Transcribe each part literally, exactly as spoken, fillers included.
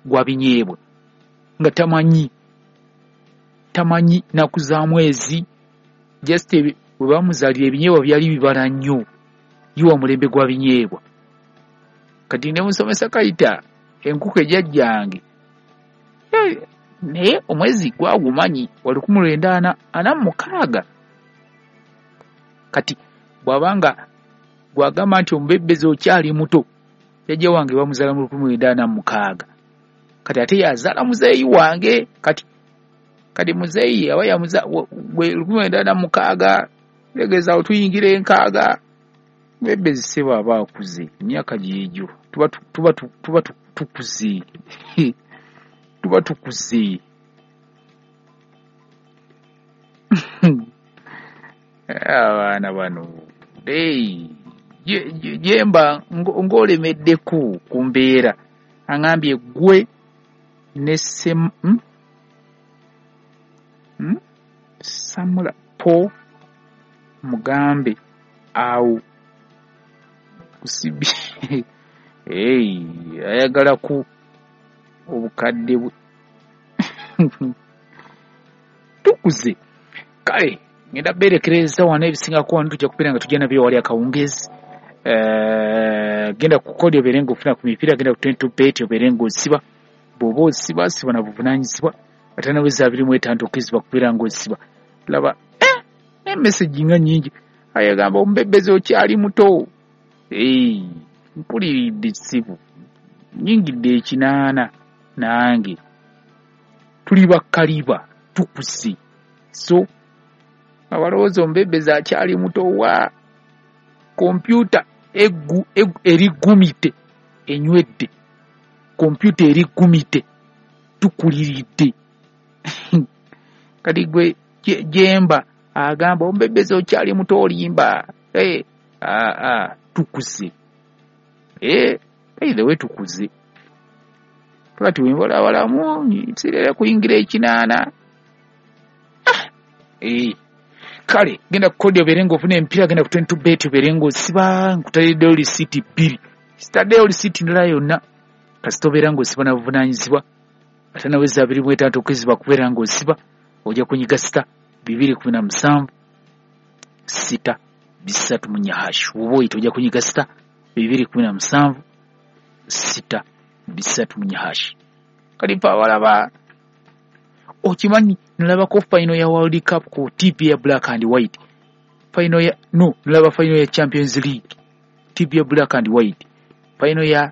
gwa binyeebwa nga tamanyi tamanyi nnaku za mwezi. Just bwe bamuzaalira ebinyeebwa byali bibala nnyo, ye wa mulembe gwa binyeebwa. Kati ne musomesa Kayita enkuku ejjajjange, naye omwezi gwagumanyi wa lukumi lwenda ana ana mu mukaaga. Kati bw'abanga gwagamba nti omubebbezi okyali muto, jjajja wange bamuzaala mu lukumi lwenda ana mu mukaaga, kati ate yazaala muzeeyi wange. Kati kati muzeeyi aba yamuza gwe lukumi lwenda ana mu mukaaga, tegeeza awo tuyingira enkaaga. Mubebbezi ssebo aba akuze emyaka gyegyo, tuba tuba tuba tukuze tuba tukuze. Abaana bano jemba ng'olemeddeko ku mbeera, aŋambye gwe ne sem hmm? Hmm? Samula po mugambe awo kusibi hey, ayagala ku obukadde bwe tukuze. Kale ngenda berekereza wano ebisingako wano, tujja kubeera nga tujja nabyo wali akawungeezi. Uh, genda ku kodi obeere ng'ofuna ku mipiira, genda ku twenty bet obeere ng'osiba. Bw'oba osiba siba na buvunaanyizibwa, ate naweza abiri mu etaano tokkirizibwa kubeera ng'osiba. Laba eh, emesegi nga nnyingi. Ayagamba omubebbezi okyali muto. Hey, mpuliridde ssibu, nnyingidde ekinaana nange, tuli bakkaliba tukuze. So abalowooza omubebbezi akyali muto, wa kompyuta eggu erigumite enywedde, kompyuta erigumite tukuliridde. Kati gwe jemba agamba omubebbezi okyali muto olimba. Hey, ah, ah, tukuze. Eh, by the way tukuze. Kati wembalabalamu sirera kuyingira ekinaana. Ah, eh. Kale genda ku kodi obeere ng'ofuna emipiira, genda ku twenty bet obeere ng'osiba. Nkutaddeyo lisiiti bbiri, sitaddeyo lisiiti ndala yonna, kasita obeera ng'osiba na buvunaanyizibwa. Ate naweza abiri mu etaano tokkirizibwa kubeera ng'osiba, ojja kunyiga sita bibiri kumi na musanvu sita bisatu mu nnya hash. Woba oyita ojja kunyiga sita bibiri kumi na musanvu sita bisatu mu nnya hash. Kati mpa abalaba okimanyi nalabako final ya World Cup ku T V ya black and white. Final ya no, nalaba final ya Champions League T V ya black and white. Final ya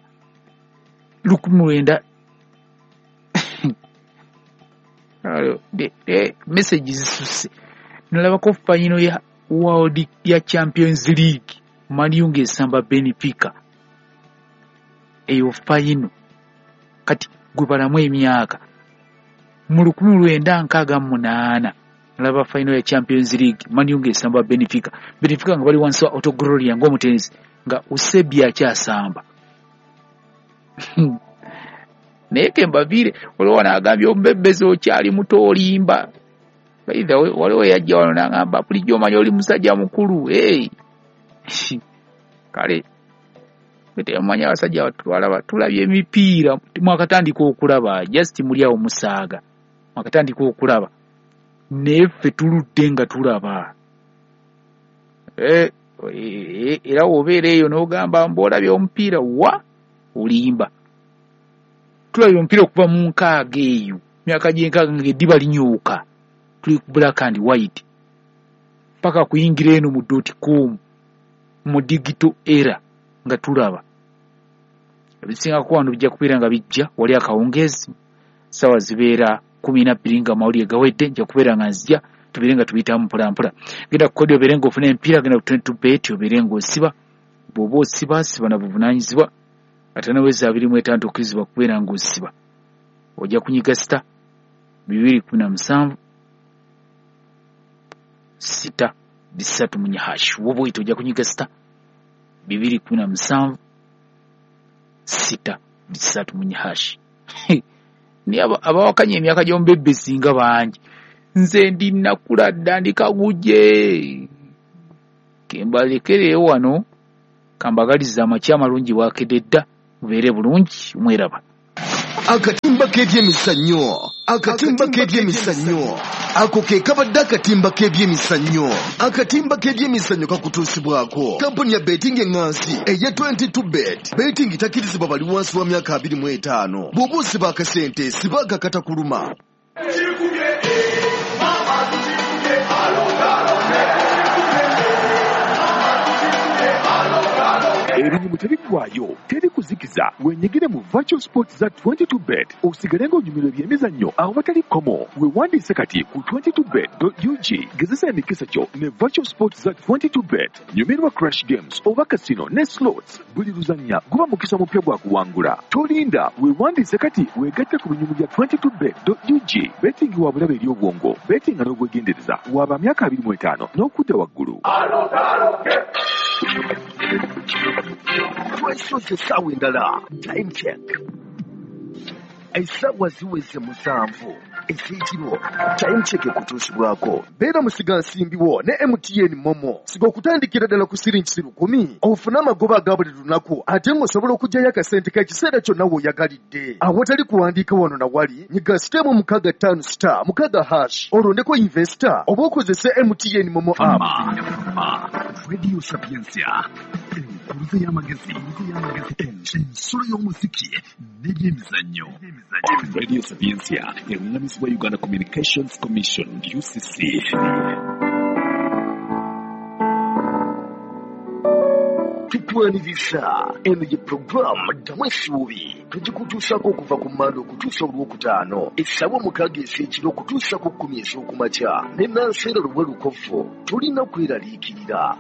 lukumi lwenda de, de message zisuse. Nalabako final ya World ya Champions League Man U ng'esamba Benfica. Eyo final. Kati gwe balamu emyaka mu lukumi lwenda nkaaga mu munaana nalaba final ya Champions League Man U ng'esamba Benfica. Benfica nga bali wansi wa Otto Gloria ng'omutenzi nga Eusebio akyasamba. Naye ke mbaviire, waliwo wano agambye omubebbezi okyali muto olimba. By the way, waliwo yajja wano n'agamba bulijjo omanyi oli musajja mukulu. Hey. Kale temumanyi abasajja batwalaba, tulabye emipiira mwakatandika okulaba, just muli awo musaaga mwakatandika okulaba, naye ffe tuludde nga tulaba. Eh, era wobeera eyo n'ogamba mbu olabye omupiira, wa olimba. Tulabye omupiira okuva mu nkaaga eyo, myaka gy'enkaaga ng'eddiba linyooka, tuli ku black and white paka kuyingira eno mu dot com mu digital era nga tulaba. Ebisingako wano bijja kubeera nga bijja wali akawungeezi, ssaawa zibeera kumi na bbiri nga amawulire gawedde, nja kubeera nga nzija tubeere nga tuyitamu mpola mpola. Genda ku kodi obeere ng'ofuna emipiira, genda ku twenty bet obeere ng'osiba. Bw'oba osiba siba na buvunaanyizibwa, ate naweza abiri mu etaano tokkirizibwa kubeera ng'osiba. Ojja kunyiga sita bibiri kumi na musanvu sita bisatu mu nnya hash. Woba oyita ojja kunyiga sita bibiri kumi na musanvu sita bisatu mu nnya hash. Naye abawakanya emyaka gy'omubebbezi nga bangi. Nze ndi nakula dda ndi kagujje. Kembalekereyo wano, kambagalize amakya amalungi bwakedde dda, mubeere bulungi, mweraba. Akatimba k'ebyemizannyo, akatimba k'ebyemizannyo, ako ke kabadde akatimba k'ebyemizannyo. Akatimba k'ebyemizannyo kakutuusibwako kampuni ya betting eŋŋansi eya twenty-two bet. Betting takkirizibwa bali wansi wa myaka abiri mu etaano. Bw'oba osiba akasente, siba akakatakuluma. Ebinyumu tebiggwaayo, teri kuzikiza. Wenyigire mu virtual sports za twenty-two bet osigale ng'onyumirwa ebyemizannyo awatali kkomo. Weewandiise kati ku twenty-two bet dot U G. Gezesa emikisa gyo ne virtual sports za twenty-two bet. Nyumirwa crash games oba casino ne slots. Buli luzannya guba mukisa mupya gwa kuwangula. Tolinda, weewandiise kati weegatte ku binyumu bya twenty-two bet dot U G. Betting wa bulabe eri obwongo. Betting nga n'obwegendereza. Waba myaka abiri mu etaano n'okudda waggulu. Twesoze essaawa endala, time check. Essaawa ziweze musanvu ez'ekiro. Time check ekutuusibwako. Beera musigansimbi wo ne M T N Momo. Siga okutandikira ddala ku siringi lukumi ofune amagoba aga buli lunaku, ate ng'osobola okuggyayo akasente k'ekiseera kyonna w'oyagalidde. Awatali kuwandiika wano na wali, nyiga sitemu mukaaga ttaano star mukaaga hash olondeko investor oba okozese M T N Momo app. Radio Sapientia, enkuruze y'amagezi, ensolo y'omuziki n'ebyemizannyo. Radio Sapientia eruŋŋamizibwa Uganda Communications Commission U C C. Tukwaniriza eno ye puroguramu Ddamu Essuubi, tugikutuusaako okuva ku Mmande okutuusa Olwokutaano essaawa mukaaga ez'ekiro okutuusa ku kkumi ez'okumakya ne Nanseera Luwe Lukovu. Tolina kweraliikirira.